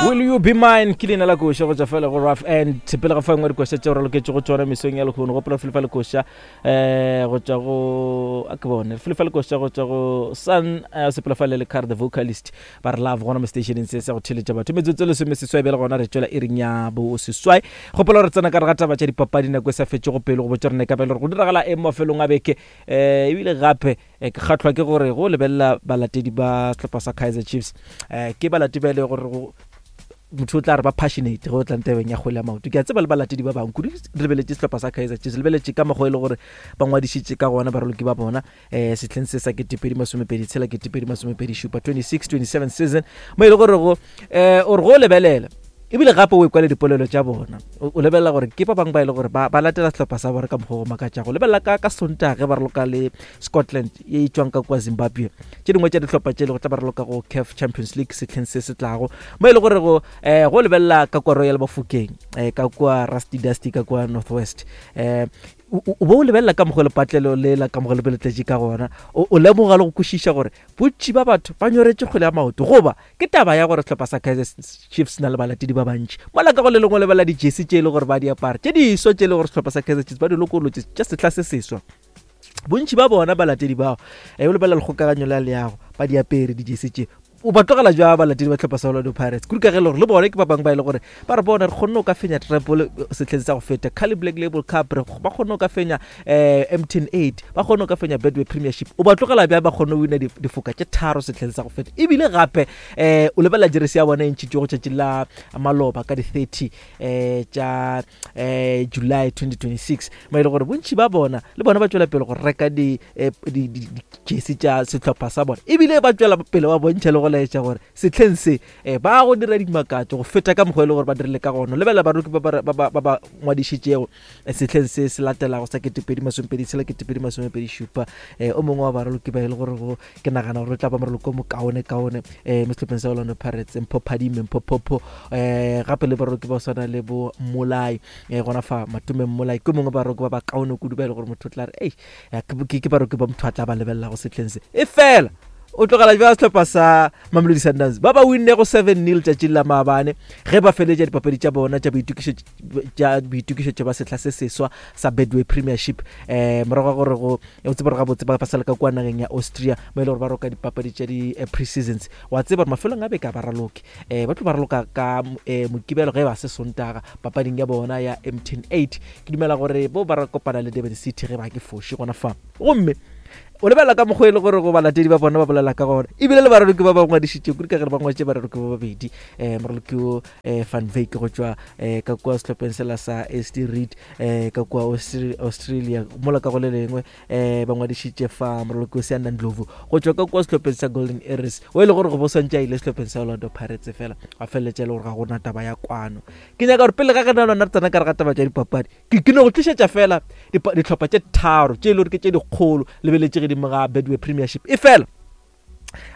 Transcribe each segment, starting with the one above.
Will you be mine ke leina la koša go tšwa fela go rough and pele ga fa engwe dikoša tšeo re loketše go tšona mesong ya lehono gopola felefa lekoša um go tšwa go a ke bone felefa lekoša go tšwa go sun eh, sepela fa le le car the vocalist ba re love gona mo stationeng se sa go theletša batho metsotso lesome seswai bjale gona re tšwela iring ya bo seswai gopola gore tsena ka re ga taba tša dipapadi nako e sa fetše go pele go botša rena ka bjale gore go diragala eng mafelong a beke um ebile gape eh, ke kgatlhwa ke gore go lebelela balatedi ba sehlopha sa kaizer chiefs um ke balatedi ba e le gore motho o tla re ba passionate go tlang tabeng ya kgwele ya maoto ke a tseba le balatedi ba bangwe kudu re lebeletše sehlopha sa kaizer chiefs lebeletše ka mokgwa e le gore ba ngwadišitše ka gona baraloki ba bona um setlheng se sa ketepedi masomepedi tshela ketepedi masomepedi šupa 26 27 season mo e le gore go um o re go lebelela ebile gape o ekwa le dipolelo tša bona o lebelela gore ke ba bangwe ba e le gore ba latela sehlopha sa bona ka mokgwa go makatšago lebelela ka ka sontage ba raloka le scotland ye e tšwang ka kua zimbabwe tše dingwe tša dihlopha tše le go tla ba raloka go caf champions league setlheng se se tlago mo e le gore go um go lebelela ka kua royal bafokeng um ka kua rusty dusty ka kua north west um o bo o lebelela ka mokgwa lepatlelo le la ka mokgwa le tletše ka gona o lemoga le go kwešiša gore bontši ba batho ba nyoretše kgwele ya maoto goba Ke taba ya gore sehlopha sa Kaizer Chiefs se na le balatedi ba bantši. Mola ka go le lengwe lebala dijesi tše e le gore ba di apara, tše diswa tše e le gore sehlopha sa Kaizer Chiefs ba di lokolotše tša sehla se seswa. Bontši ba bona balatedi bao, e o lebelela lekgokaganyo la leago, ba di apere dijesi tše. O ba tlogela jwa balatedi ba sehlopha sa Orlando Pirates? Kudu ka ge e le gore le bone ke ba bangwe ba e le gore ba re bona re kgonne go ka fenya treble sehleng sa go feta, Carling Black Label Cup, re ba kgonne go ka fenya eh, MTN 8 ba kgone go ka fenya Betway Premiership o ba tlogela bjang ba kgone go wina difoka tše tharo sehleng sa go feta ebile gape eh, o lebelela jeresi ya bona e ntšhitšwe go tšatši la maloba ka di-30 eh, tša eh, July 2026 mo e le gore bontši ba bona le bona ba tšwela pele go reka dijesi tša sehlopha sa bona ebile ba tšwela pele ba bontšha le go laetša gore sehleng se eh, ba go dira dimakatšo go feta ka mokgwa e le gore ba dirile ka gona lebelela baroki ba ba ngwadišitšego sehleng se se latelago sa 2026 tshela 2027 um o mongwe wa baraloki ba e le gore go ke nagana gore o tla ba moraloki o mokaone kaone um mo sehlopheng sa Orlando Pirates Mpho Phadime Mpho Phopho um gape le baraloki ba swana le bo Mmolai um gona fa Matome Mmolai ke mongwe baraloki ba bakaone kudu ba e le gore motho o tla re ei ke baraloki ba motho a tla ba lebelelago sehleng se e fela o tlogela jwa sehlopha sa Mamelodi Sundowns ba ba winnego 7-0 tšatšing la maabane ge ba feletša dipapadi tša bona tša boitokišetšo tša boitokišetšo ba sehla se seswa sa Betway Premiership eh morago ga gore go o tseba gore gabotse ba sale ka kua nageng ya Austria mo e le gore ba roka dipapadi tša di eh, pre-seasons wa tseba gore mafelong a beke a ba raloke eh ba tlo ba raloka ka eh, mokibelo ge ba se sontaga papading ya bona ya MTN 8 ke dumela gore bo ba kopana le Durban City ge ba ke foše gona fa gomme o lebelela ka mokgwa e le gore go balatedi ba bona ba bolela ka gona ebile le baraloki ba ba ngwadišitše kudu ka gere ba ngwaditše baraloki ba babedi um moraloki o um van Wyk go tšwa um ka kua sehlopheng sela sa st reed um ka kua Australia mola ka go le lengwe um ba ngwadišitše fa moraloki o Seanda Ndlovu go tšwa ka kua sehlopheng sa Golden Arrows o e le gore go bo swantše a ile sehlopheng sa Orlando Pirates fela a feleletša e le gore ga gona taba ya kwano ke nyaka gore pele ga ge na lona re tsena ka re ga taba tša dipapadi ke ke no go tlišetša fela dihlopha tše tharo tše e le gore ke tše dikgolo lebeletše gedimo ga Betway Premiership e fela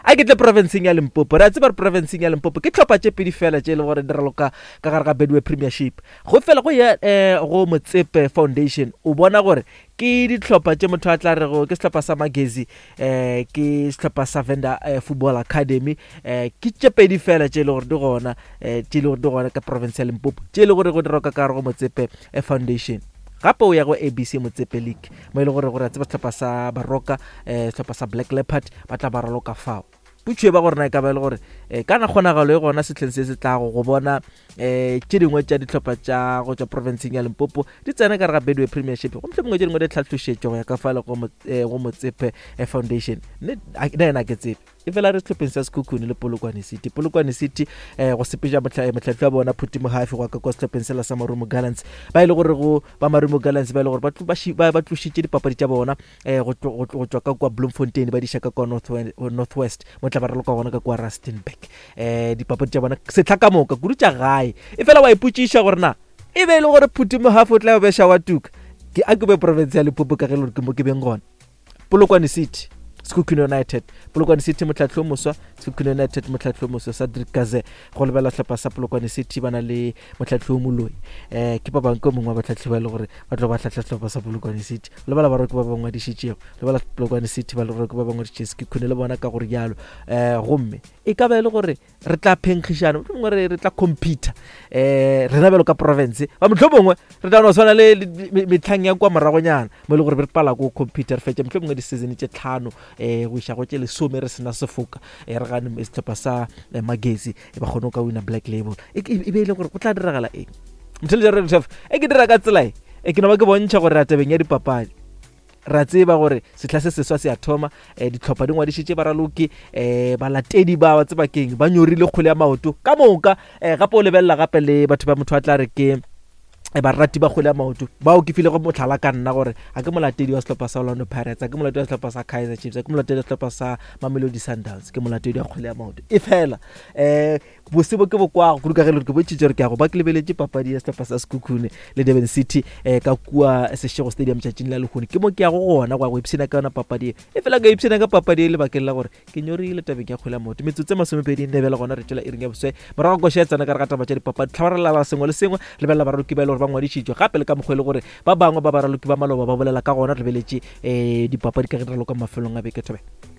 A ke tle profenseng ya Limpopo. Re a tseba gore profenseng ya Limpopo ke tlhopha tše pedi fela tše e le gore di raloka ka gare ga Betway Premiership. Go fela go ya um go Motsepe Foundation o bona gore ke dihlopha tše motho a tla rego ke sehlopha sa Magezi um ke sehlopha sa Venda eh, Football Academy um ke tše pedi fela tše e le gore di gona um tše e le gore di gona ka province ya Limpopo tše e le gore go di roka ka gare go Motsepe Foundation. Gape o ya go ABC Motsepe League mo e le gore gore a tseba sehlopha sa Baroka um sehlopha sa Black Leopard ba tla ba raloka fao. Potšo e ba gore na e ka ba e le gore um kana kgonagalo e gona sehleng se se tlago go bona um tše dingwe tša dihlopha tša go tšwa profenseng ya Limpopo di tsena ka re ga Betway Premiership go mohlomongwe tše dingwe di tlhahlošetšo go ya ka fale go Motsepe Foundation. Nna yena ke tsebe. Efela re sehlopheng sa Sekhukhune le Polokwane City. Polokwane City eh, go sepetša mohlahli wa bona Phuti Mohafi go ka kwa sehlopheng sela sa Marumo Gallants ba e le gore go ba Marumo Gallants ba e le gore ba tlošitše dipapadi tša bona eh, go tšwa ka kwa Bloemfontein ba di iša ka kwa North West mo tla ba raloka gona ka kwa Rustenburg eh, dipapadi tša bona sehla ka moka kudu tša gae efela wa ipotšiša gore na e be e le gore Phuti Mohafi o tla beša wa tuka ke a ke be province ya Limpopo ka ge e le gore ke mo ke beng gona Polokwane City. Sekhukhune United, Polokwane City motlhahli o moswa, Sekhukhune United motlhahli o moswa Cedric Kaze go lebelela sehlopha sa Polokwane City ba na le motlhahli o moloi um ke ba bangwe ke mongwe wa batlhahli ba e le gore ba tlo ba hlahla sehlopha sa Polokwane City lebala ba roke ba ba ngwadišitšego lebala Polokwane City ba le roke ba ba ngwadišitše Sekhukhune le bona ka gore jalo um gomme e ka ba e le gore re tla phenkgišana mohlomongwe re re tla computer um rena bjalo ka province ba mohlomongwe re tla no tshwana le metlhang ya kwa moragonyana mo e le gore re pala ko computer re fetše mohlomongwe di-season tše tlhano um go iša go tše lesome re sena sefoka um re gane sehlopha sa eh, magesi e ba kgone go ka wina black label e e be e le gore go tla diragala eng mothelejare e ke dira ka tsela e e ke no ba ke bontšha gore ra tabeng ya dipapadi Re a tseba gore sehla se seswa se a thoma, um dihlopha di ngwadišitše baraloki, um balatedi ba ba tseba keng, ba nyorile kgwele ya maoto ka moka. Um gape o lebelela gape le batho ba motho a tla re ke eh, barati ba kgwele ya maoto bao ke filego mohlala ka nna gore a ke molatedi wa sehlopha sa Orlando Pirates, a ke molatedi wa sehlopha sa Kaizer Chiefs, a ke molatedi wa sehlopha sa Mamelodi Sundowns, ke molatedi wa kgwele ya maoto. E fela um Bose bo ke bo kwago kudu ka ge le gore ke bontšhitše gore ke ya go ba ke lebeletše papadi ya sehlopha sa Sekhukhune le Durban City um ka kua Seshego Stadium tšatšing la lehono. Ke mo ke yago gona go ya go ipshina ka yona papadi e. E fela ka ipshina ka papadi e lebakeng la gore ke nyorile tabeng ya kgwele ya maoto. Metsotso e masomepedi nne bjale gona re tšwela iring ya boswe. Morago koša ya tsena ka re ga taba tša dipapadi. Tlhabarelala sengwe le sengwe, lebelela baraloki ba e le gore ba ngwadišitšwe gape le ka mokgwa e le gore ba bangwe ba baraloki ba maloba ba bolela ka gona re lebeletše um dipapadi ka ge di raloka mafelong a beke. Thobela.